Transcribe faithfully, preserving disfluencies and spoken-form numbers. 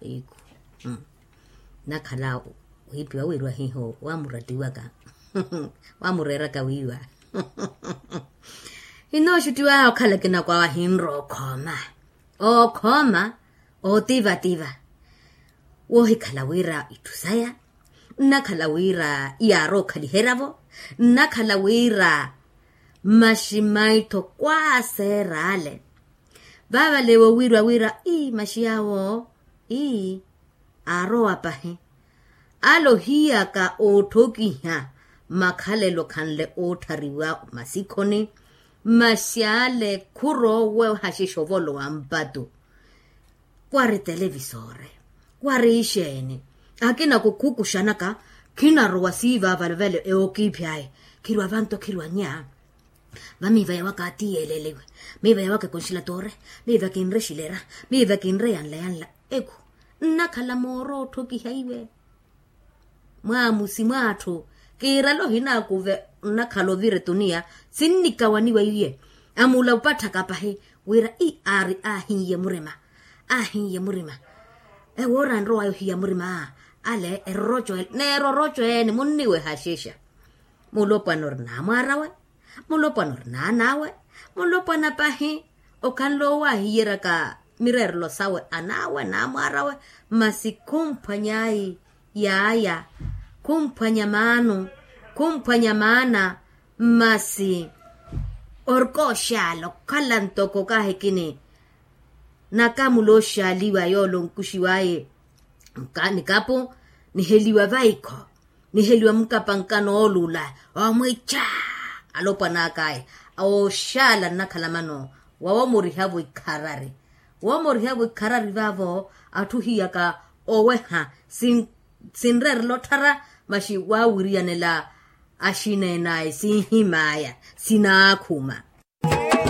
Iku. Nakhala wiipiwa wiiriwa hiho wamurattiwaka, wamureeraka wiiwa. Hinooxuttiwa okhala kinakwaawa hinrowa okhooma, okhooma, ootivativa. Woohikhala wira itthu saya, nnakhala wira iyaarowa okhaliheryavo, nnakhala wira mmaxi mmaitho kwaaseera ale. Vaavale woowiiriwa wira ii mmaxi yaawo ii aarowa pahi. Ale ohiyaka ootthokiha makhalelo khanle ootthariwa masikhoni, mmaxi ale khurowa ohaxexa ovolowa mpattu. Kwari televisore, kwari ixeeni, akina kukhukuxanaka, khinarowa siivaavale vale ewokiiphi aye. Khirwa vanto khirwa nya. Vamiiva yawaka ati yeeleliwe, miiva yawaka ekonxilatore, miiva kinre xilera, miiva kinre yanla yanla. Eku nnakhala mooro otthokiha iwe. Mwaamusi mwaatthu, kiirale ohinaakuve. Nnakhala ovira etuniya, sinnikawaniwa iye. Amula opatthaka pahi wira ii aari aahiiye murima, aahiiye murima. Ewoora anrowaya ohiya murima ale eroroco ele neeroroco ene munniwehaxexa. Mulopwana ori naamwaarawe, mulopwana ori naanaawe, mulopwana pahi. Okhanle owaahiyeryaka mireerelo sawe anaawe naamwaarawe. Masi khumphwany'ayi yaaya, khumphwanya maano, khumphwanya maana. Masi orikooxaala okhala ntoko kaahikini nakamula oxaaliwa yoole onkuxiw'aye nikapu, niheliwa vaikho, niheliwa mukapankano oolula, omwicha alopwan'ak'aya. Ooxaala nnakhala mano wawoomorihavo ikharari. Woomorihavo ikharari vaavo atthu ohiyaka oweha sinreerela otthara, masi waawiriyanela axineen'aya sinhim'aya sinaakhuma.